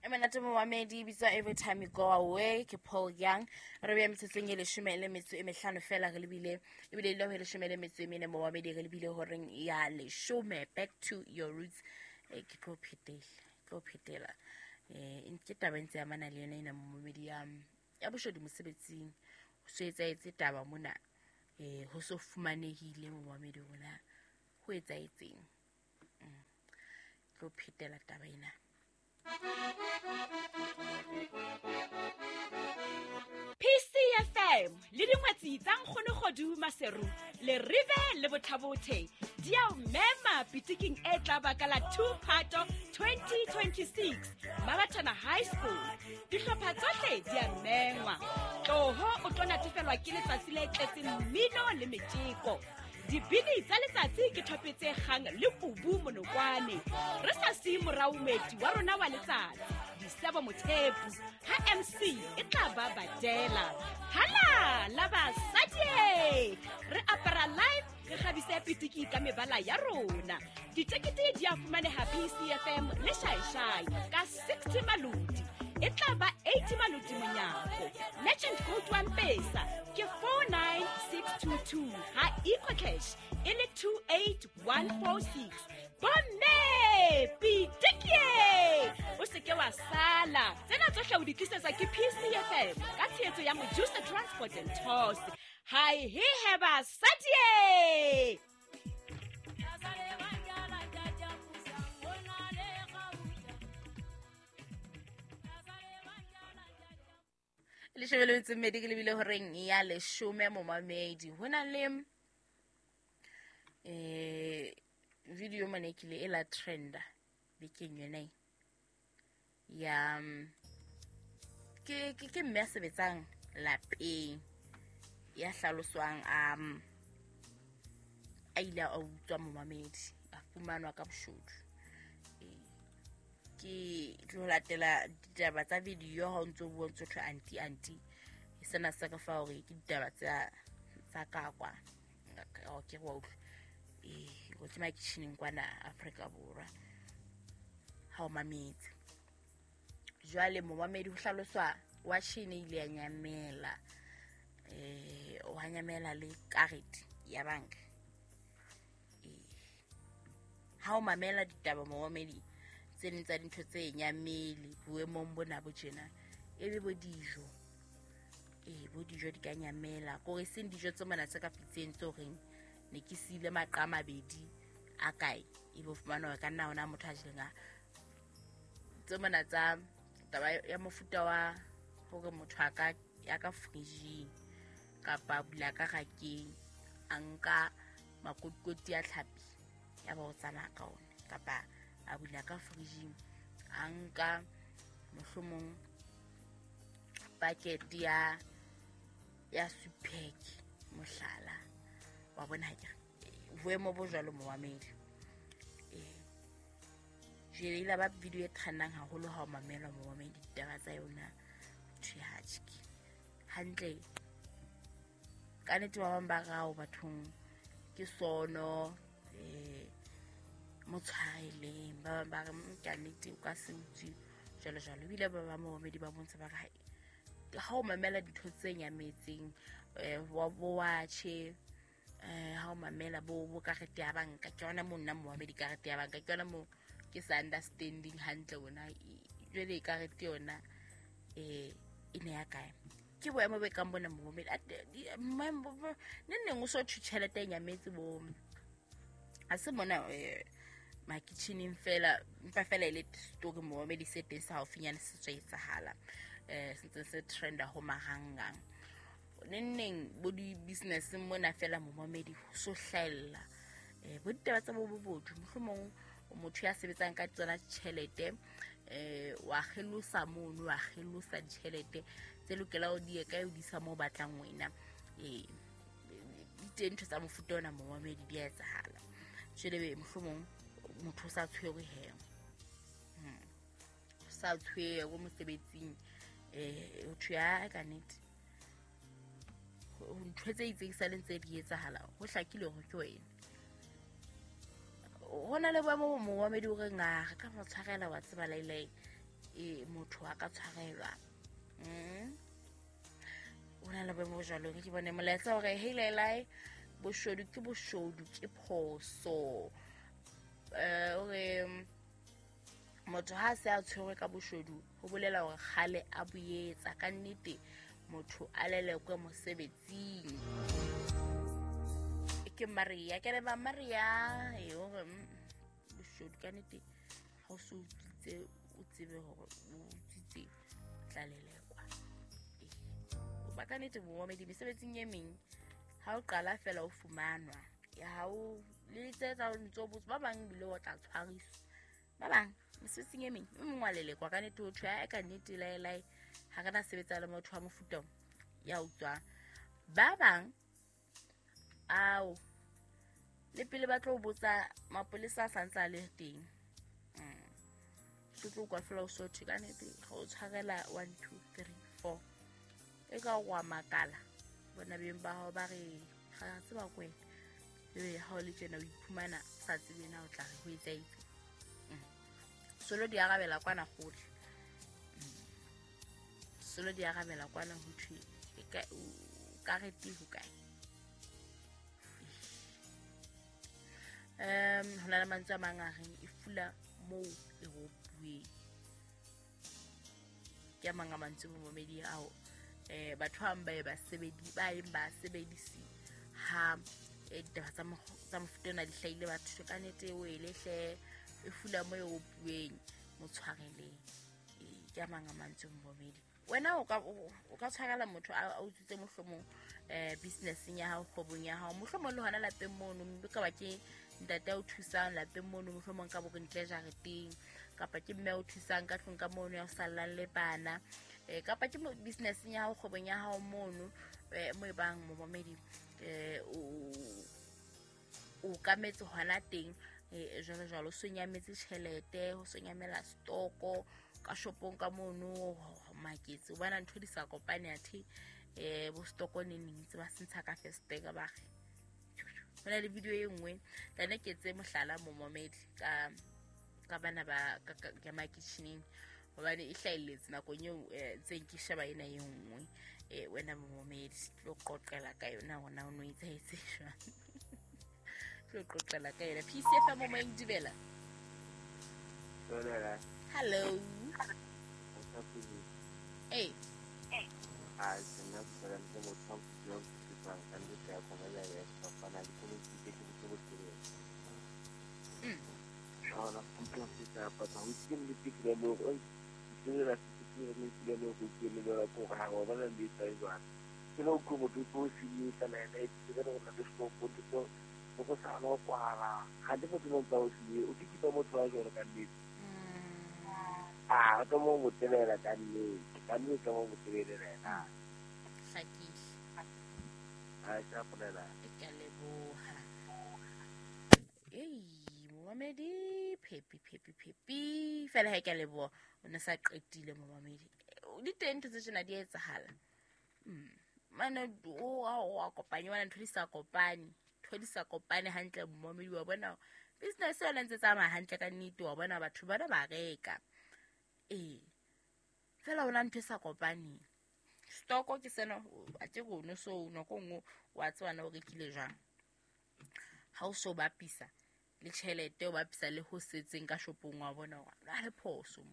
E monate momamedi, e bitswa Every Time You Go Away ke Paul Young. Re beya metsotsong e 15 fela re lebile, ebile e le ho 14 momamedi, re lebile horeng ya 10. Back to your roots. Ke tlo phetela. Ke taba e ntse amana le yona ena momamedi ya boshodu mosebetsing. Ho so etsahetse taba mona, ho so fumanehile momamedi rona ho etsahetseng. Tlo phetela taba ena. PCFM le dingwetsi tsa Nkgonogodu Maseru le Rive le Bothabothe di a o mema pitiking e tla baka la 2 Phato 2026 Mabatana High School. Dihlopha tsohle di a mengwa. Tloho o tlo natefelwa ke letsatsi le tletseng mmino le metjeko. Dibini tsa letsatsi ke thope tse kgang le kubu monokwane. Re sa siye morao moeti wa rona wa letsatsi, Disebo Mothepu, ha MC e tla ba badela. Hala la basadi! Re apara live, re kgabise pitiki ka mebala ya rona. Ditekete di a fumaneha PCFM le Shaishai ka 60 maloti. E tla ba 80 maloti monyako. Merchant code wa Mpesa ke 49622 ha EcoCash e le 28146. Bomme pitikie, o seke wa sala. Tsena tsohle o di tlisetswa ke PCFM ka tshehetso ya Mojusa Transport and Tours. Hai he he basadi! Leshome le metso e mmedi ke lebile horeng ya 10 momamedi. Ho na le video mane kile e la trenda bekeng yona e ya ke mme a sebetsang lapeng ya hlaloswang a ile a utswa momamedi, a fumanwa ka boshodu. Ke tlo latela ditaba tsa video ha o ntso bua ntso thwe anti sena se ka fa hore ke ditaba tsa ka kwa ke wa utlwa go ke makitjhineng kwana Afrika Borwa ha o mametse. Jwale momamedi ho hlaloswa wa tjhine ile ya nyamela, wa nyamela le karete ya banka. Ha o mamela ditaba momamedi tse ding tsa dintho tse nyamele boemong bona bo tjena, ebe bo dijo, bo dijo di ka nyamela. Kore seng dijo tse mona tse ka pitseng tse horeng ne ke siile maqa a mabedi a kae, ebe o fumana hore ka nna hona motho a jeleng a tse mona tsa taba ya mofuta wa hore motho a ka ya ka fridging kapa bula ka rakeng a nka makotikoti a tlhapi ya ba o tsamaya ka ona, kapa a bula ka fridging a nka mohlomong packet ya supek mohlala wa bona ha ke boemo bo jwalo momamedi. Jwale ile ba video e trendang haholo ha o mamela momamedi ditaba tsa yona thwe hatjhe hantle. Ka nnete ba bang ba rao bathong ke sono motshwareleng, ba bang ba re ka nnete o ka se utswe jwalo jwalo. Ebile ba bang momamedi ba bontsha ba re ha o mamela dintho tse nyametseng wa bo watjhe, ha o mamela bo karete ya banka, ke yona mo nna momamedi karete ya banka ke yona mo ke sa understanding hantle ona jwale karete yona e ne ya kae. Ke boemo bo kang bona momamedi ne neng o so thwe tjhelete e nyametse bo ha se mona makitjhineng fela, empa fela e le story momamedi se teng sa haufinyane se tswa etsahala, se ntse se trenda ho marangrang. Neng bo di-business mona fela momamedi ho so hlahella bo ditaba tsa bo bobodu. Mohlomong motho ya sebetsang ka tsona tjhelete wa kgelosa mono, wa kgelosa ditjhelete tse lokela ho di ye kae, o di isa moo batlang wena. Di teng ntho tsa mofuta ona momamedi di a etsahala. Jwale mohlomong motho o sa tshwerwe he, o sa tshwerwe mosebetsing, ho thwe ya ka nnete ntho tse itseng sa leng tse di etsahala, ho hlakile hore ke wena. Ho na le boemo bo momamedi o reng a re ka mo tshwarela wa tseba lailai, e motho a ka tshwarelwa. O na le boemo jwalo ke bone molaetsa hore hey lelai boshodu ke boshodu ke phoso. Hore motho ha se a tshwerwe ka boshodu ho bolela hore kgale a boyetsa ka nnete motho a lelekwe mosebetsing. Ke Maria ke re ba Maria e hore boshodu ka nnete ha o so utswitse o tsebe hore o utswitse tla lelekwa. Ba ka nnete momamedi mesebetsing e meng ha o qala fela o fumanwa ya ha o le tsetsa o ntso botsa ba bang bile o tla tshwariswa ba bang mesebetsing e meng e mong wa lelekwa ka nnete o thwe a ka nnete laelai ha re na sebetsa le motho wa mofuta ya utswang. Ba bang ao le pele ba tlo botsa mapolesa a santse a le teng. So tlo kwa fela o sothe ka nnete ga o tshwarela 1 2 3 4 e ka wa makala bona beng ba hao ba re ga tseba kwena ebe ha o le tjena o iphumana sa tsebe na o tla re ho etsaetse. Solo di arabela kwana gohle. Solo di arabela kwana ho thwe ka re te ho kae. Ho na le mantswe a mang a reng e fula moo e ropuweng. Ke a mang a mantswe momamedi ao batho ba bang ba sebedi ba eng ba sebedisi ha ditaba tsa mofuta ona di hlahile batho ka nnete o elehle e fula moo e ropuweng mo tshwareleng. Ke a mang a mantswe momamedi. Wena o ka tshwarela motho a utswitse mohlomong businesseng ya hao kgwebong ya hao mohlomong le hona lapeng mono mme ka ba ke ntate a o thusang lapeng mono mohlomong ka bo ntle jareteng kapa ke mme a o thusang ka tlung ka mono ya o sallang le bana kapa ke businesseng ya hao kgwebong ya hao mono mo e bang momamedi o kametse hona teng jwalo jwalo o sonyametse tjhelete ho sonyamela stoko ka shopong ka mono maketse o bona ntho di sa kopane athe bo stoko ne neng tse ba sentsha ka festeka ba re ho na le video e nngwe tane ke tse mohlala momamedi ka bana ba ka makitjhineng hobane e hlahelletse nakong eo ntseng ke sheba ena e nngwe wena momamedi tlo qoqela ka yona hona o no etsahetse jwang tlo qoqela ka yona. PCF momoeng dumela. Hello. Hey. A ka mo motelela ka nnete ka nnete mo motelela ena hlakile a tla polela ke leboha ei momamedi phepi phepi phepi fela ha ke leboha o ne sa qetile momamedi di teng ntho tse tjena di etsahala. Mane o a kopanye wana ntho di sa kopane ntho di sa kopane hantle momamedi wa bona business yona ntse tsamaya hantle ka nnete wa bona batho bana ba reka. Fela ona ntho e sa kopaneng stoko ke sena a ke rone so nako nngwe wa tseba na o rekile jwang ha o so bapisa le tjhelete o bapisa le ho setseng ka shopong wa bona hore a le phoso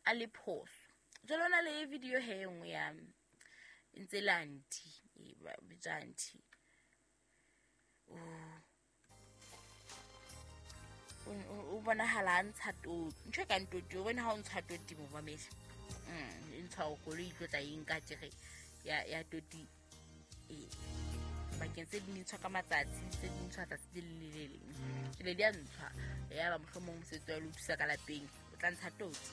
a le phoso. Jwale ona le video he e nngwe ya ntse le anti ba bitsa anti o bonahala a ntsha toti ntho e kang toti o bone ha o ntsha toti momamedi e ntsha o koloi e tlo tla e nka tjere ya toti bakeng tse ding ntshwa ka matsatsi tse ding ntshwa tsatsi le le leng jwale di a ntshwa ya ba mohlomong mosebetsi wa le o thusa ka lapeng o tla ntsha toti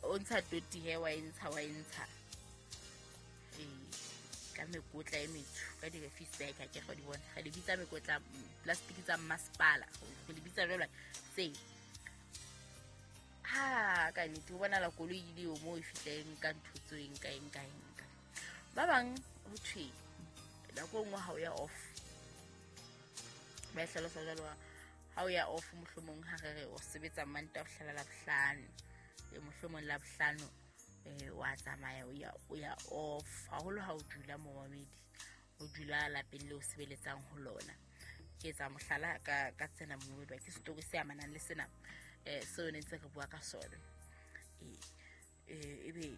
o ntsha toti he wa e ntsha ka mekotla e metsho ka di-refuse bag ha ke go di bona ga di bitsa mekotla plastic tsa masepala go di bitsa jwalo tse ha ka nnete o bona la koloi ile o mo e fihleng ka ntho tse eng ka eng ka eng ka ba bang ho thwe nako nngwe ha o ya off ba e hlalosa jwalo Ha o ya off mohlomong ha re re o sebetsa Mantaha ho fihlela Labohlano, mohlomong Labohlano wa tsamaya o ya off, haholo ha o dula momamedi, o dula lapeng le o sebeletsang ho lona. Ke etsa mohlala ka tsena momamedi, ke story se amanang le sena seo ne ntse re bua ka sona. Ebe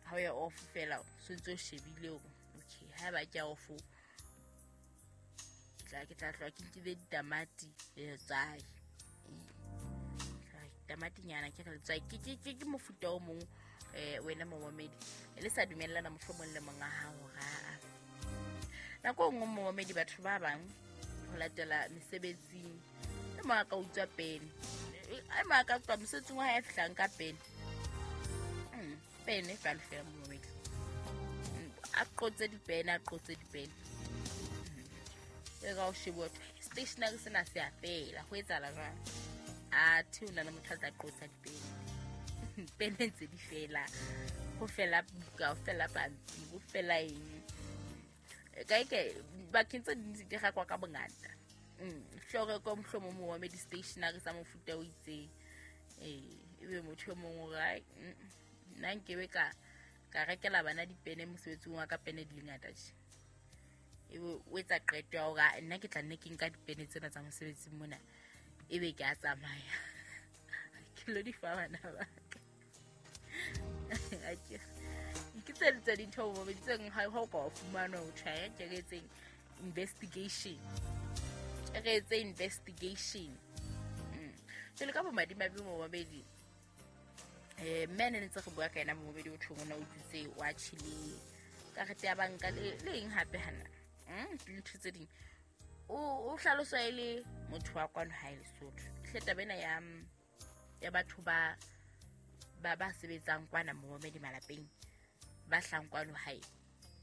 ha o ya off fela so ntse o shebile hore okay, ha ba ke off ke tla tloha ke nkile ditamati le letswai. Tamati nyana ke re letswai ke mofuta o mong wena momamedi le sa dumellana mohlomong le monga hao ra. Nako e nngwe momamedi batho ba bang ho latela mesebetsing e mong a ka utswa pene, e mong a ka utswa mosebetsing wa hae a fihlang ka pene. Pene jwalo fela momamedi, a qotse dipene. E ka o shebe stationery sena se a fela, ho etsahala jwang? Athe o na le motho a tla qotsa dipene. Pene ntse di fela, ho fela buka, ho fela pampiri, ho fela eng. Kae bakeng tse ding di rekwa ka bongata. Hlore ko mohlomong momamedi stationery sa mofuta o itseng. Ebe motho e mong o re nna nkebe ka rekela bana dipene mosebetsing wa ka, pene di le ngata tje. Ebe o etsa qeto ya hore nna ke tla nne ke nka dipene tsena tsa mosebetsing mona, ebe ke a tsamaya ke lo di fa bana ba ka. Ke tse tse dintho momamedi tse nngwe ha o ka wa fumana ho tjhaya ke re etseng investigation. Re etse investigation. Jwale ka bomadimabe momamedi, mme ne ntse re bua ka yena momamedi, o thong o na utswitse wa tjhile karete ya banka le eng hape hana. Dintho tse ding o hlaloswa e le motho wa kwano hae Lesotho. Hle taba ena ya batho ba sebetsang kwana momamedi malapeng, ba hlang kwano hae,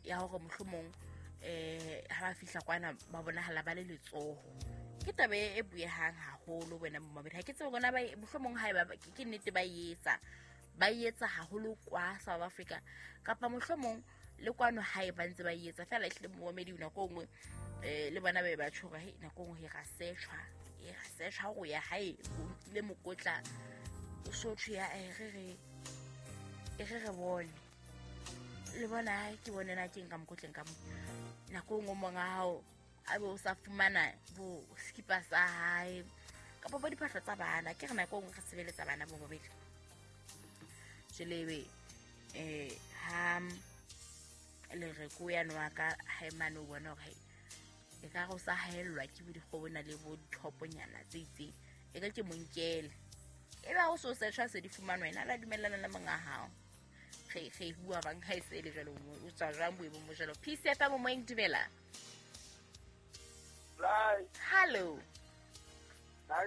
ya hore mohlomong ha ba fihla kwana ba bonahala ba le letsoho. Ke taba e buehang haholo wena momamedi. Ha ke tsebe bona ba mohlomong hae ba ke nnete ba etsa haholo kwa South Africa, kapa mohlomong le kwano hae ba ntse ba etsa fela. Ehlile momamedi nako nngwe le bona ba ba tjho hore nako nngwe ra search hore ya hae o nkile mokotla o so thwe ya re re bone le bona ke bone na ke nka mokotleng ka mo. Nako nngwe monga hao a be o sa fumana bo skipa sa hae kapa bo diphahlo tsa bana. Ke re nako nngwe re sebeletsa bana bo bobedi. Jwale ha le re ko ya nwa ka hae mane o bona hore e ka go sa haellwa ke bo dikgobona le bo dithoponyana tse itseng, e ka ke monkele. E ba o so search se di fumanwa wena la dumellana le monga hao. Re bua bang ha e se le jwalo, o tswa jwang boemong bo jwalo. PCF momoeng, dumela. Hello. Ba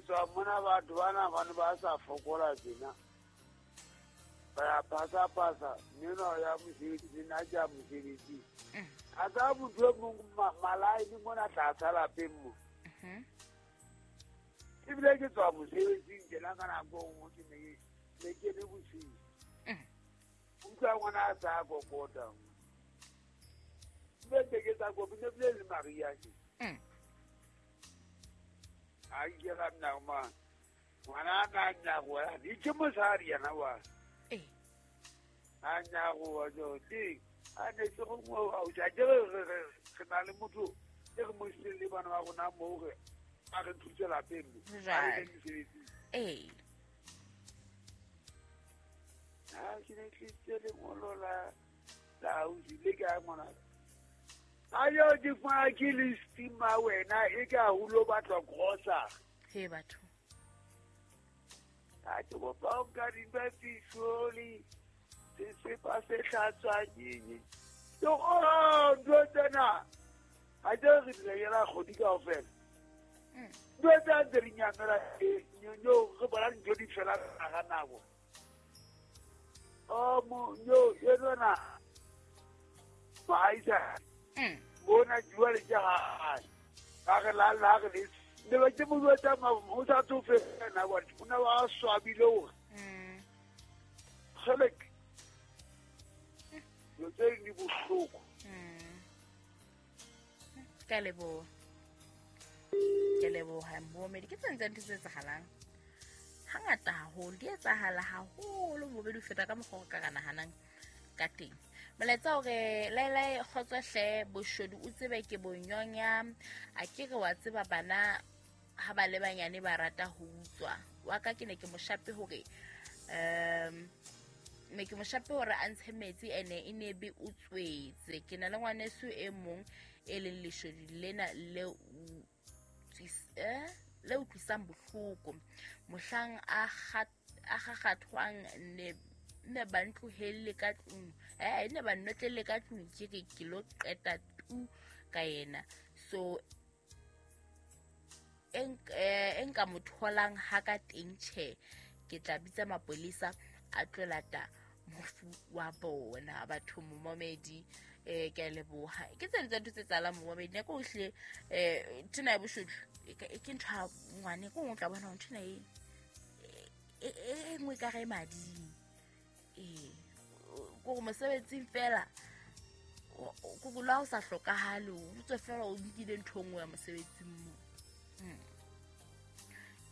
tswa mona batho bana ba ne ba sa fokola tjena. Ba ya pasa meno ya mosebetsi nna ke ya mosebetsi. A tsa motho e mong malai le mona tlasa lapeng mo. Ebile ke tswa mosebetsing tjena ka nako e nngwe ke ne ke le bosiu. Utlwa ngwana a sa kokota. Ebile ke tsa kopi ne bile le Maria ke. A ikela nna ma ngwana a nyago di ke mosadi yena wa. A nyago wa jo di a ne ke go mo a ja ke re na le motho ke re mo le bana ba rona mo re a re thuse lapeng mo. A ke ne tlisitse lengolo la ausi le ka ngwana. Ayo di fa ke le stima wena e ka hulo batlwa grocer. He batho. A ke bo ba ka di ba fisoli. Se se pa se hlatswa ke. Yo oh do tsena. A je re dire la kgodi kaofela. Do tsa re nyamela nyo re bona ntho di fela ga nako. Oh mo nyo yena. Ba isa. Bona jwale ke ha ka re la la re le ba ke mo tsa ma o sa tsofe na wa ona wa swabile o kgelek yo tse di bohloko. Ke a leboha. Ke leboha momedi ke tsentse ntho tse etsahalang. Hangata haholo di etsahala haholo momedi o feta ka mokgwa o ka nahanang ka teng. Molaetsa hore laelae kgotso hle boshodu o tsebe ke bonyonya a ke re wa tseba bana ha ba le banyane ba rata ho utswa. Wa ka ke ne ke moshape hore me ke moshape hore a ntshe metsi ene e ne be o tswetse. Ke na le ngwaneso e mong e leng leshodu lena le le utlwisang bohloko. Mohlang a kgakgathwang ne ba ntlohelle ka tlung ne ba nnotlelle ka tlung ke re ke lo qeta tu ka yena. So e nka mo tholang ha ka teng tjhe ke tla bitsa mapolesa a tlo lata mofu wa bona batho momedi ke a leboha. Ke tse ntse ntho tse tsalang momedi nako ohle nthona ya boshodu ke ntho ya ngwane ko o tla bona nthona e nngwe ka re mading. Ko mosebetsing fela ko la o sa hlokahale o tswe fela o nkile ntho nngwe ya mosebetsing mo.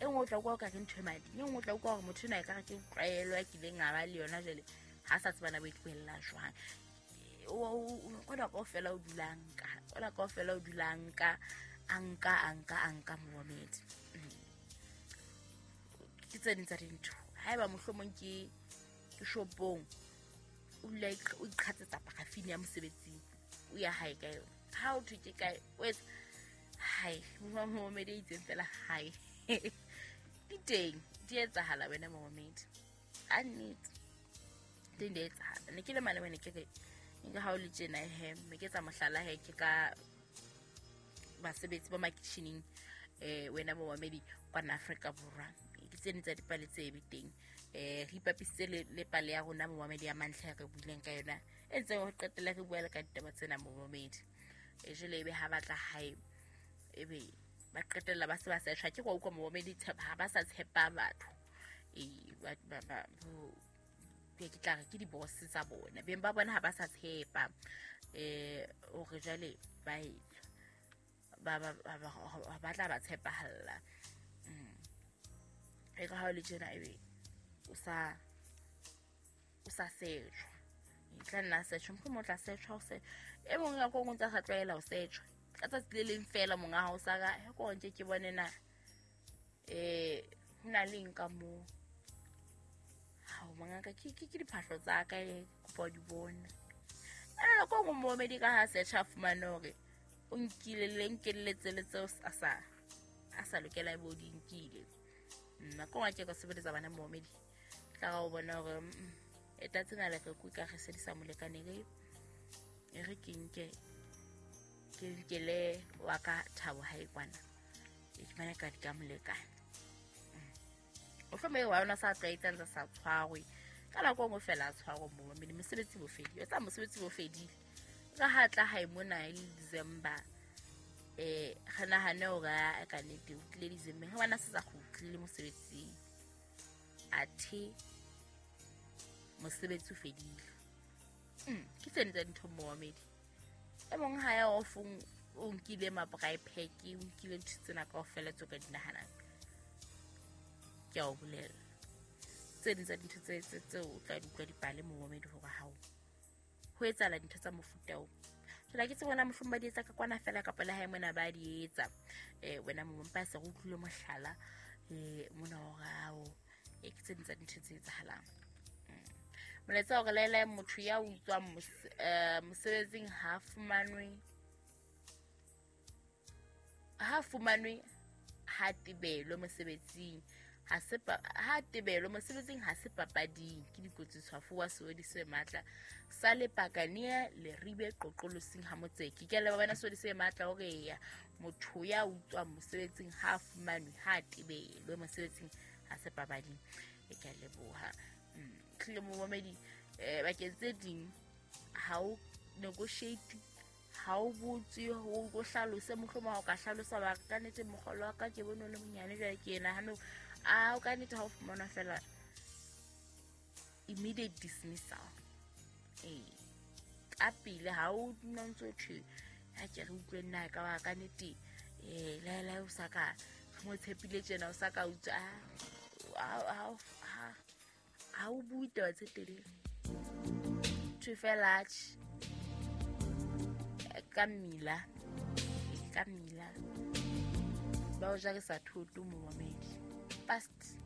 E nngwe o tla utlwa o ka re ntho e mading, e nngwe o tla utlwa hore motho ena e ka re ke tlwaelo ya kileng a ba le yona jwale ha sa tsebana bo e tlohella jwang. Kona kaofela o dula nka, kona kaofela o dula nka, a nka momedi. Ke tse ding tsa dintho. Haeba mohlomong ke shopong o dula o iqhatsetsa parafini ya mosebetsing o ya hae ka yona. Ha o thwe ke kae o etsa hae momedi e itseng fela hae. Di teng di etsahala wena momedi. A nnete teng di etsahala. Ne ke le mane wena ke re nka ha o le tjena he me ke tsa mohlala he ke ka basebetsi ba makitjhining wena momedi kwana Afrika Borwa. Ke tsene tsa dipale tse be teng. Re ipapisitse le pale ya rona momedi ya mantlha re buileng ka yona e ntseng ho qetella re bua le ka ditaba tsena momedi. Jwale ebe ha batla hae ebe ba qetella ba se ba setjha ke go utlwa momedi ha ba sa tshepa batho. Ba ke tla re ke di-boss tsa bona beng ba bona ha ba sa tshepa hore jwale ba etswa ba tla ba tshepahalla. E ka ha o le tjena ebe o sa setjhwa. E tla nna setjhwa mohlomong o tla setjhwa o se e mong ya ko o ntse a sa tlwaela ho setjhwa. Ka tsatsi le leng fela monga hao sa ka he ko ntse ke bone na ho na le eng ka moo. Hao mongaka ke diphahlo tsa ka e kopa di bona. Ene ko nngwe momedi ka ha setjha fumane hore o nkile le nkelletse le tseo a sa lokela bo di nkile. Nako ngwe ke ka sebeletsa bana momedi. Tla o bona hore e tsena le re ka re se di sa molekane re ke nke ke nkele wa ka thabo hae kwana. E ke bana ka di ka molekane. O hlome wa yona sa tlwaetsang tsa sa tshwarwe. Ka nako nngwe fela a tshwarwe momedi mosebetsi bo fedile. Tsa mosebetsi bo fedile. Ka ha tla hae mona e le December. Re nahane hore ka nnete o tlile December. Ha bana se sa kgutlile mosebetsing. Athe mosebetsi o fedile. Ke tsene tsa dintho momedi. E mong ha ya ofong o nkile mabrae pack, o nkile ntho tsena kaofela tseo ka di nahanang. Ke a o bolela. Tse ding tsa dintho tseo o tla di utlwa dipale momedi hore hao ho etsahala dintho tsa mofuta oo. Jwale ke tsebona mohlomong ba di etsa ka kwana fela kapa le hae mona ba di etsa. Wena mompa se re utlwile mohlala mona hore hao ke tse ding tsa dintho tse etsahalang. Molaetsa hore laela motho ya utswang mosebetsing ha fumanwe ha tebelwe mosebetsing ha tebelwe mosebetsing ha se papading ke dikotsi tshwafo wa seodi se matla sa lepakane le ribe qoqolosing ha motseki. Ke le bona seodi se matla hore ya motho ya utswang mosebetsing ha fumanwe ha tebelwe mosebetsing ha se papading. E ke leboha. Tlile momedi bakeng tse ding ha o negotiate ha o botse ho go hlalose mohlomong ha o ka hlalosa ba ka nnete mogolo wa ka ke bone le monyane jwale ke ena hano a o ka nnete ha o fumana fela immediate dismissal. Ka pele ha o nna ntse o thwe Ha ke re utlwe nna ka ba ka nnete laelae o sa ka re mo tshepile tjena o sa ka utswa. Ha o bue taba tse telele. Thwe fela atjhe ka mmila, ka mmila ba o jarisa thoto momamedi. Past.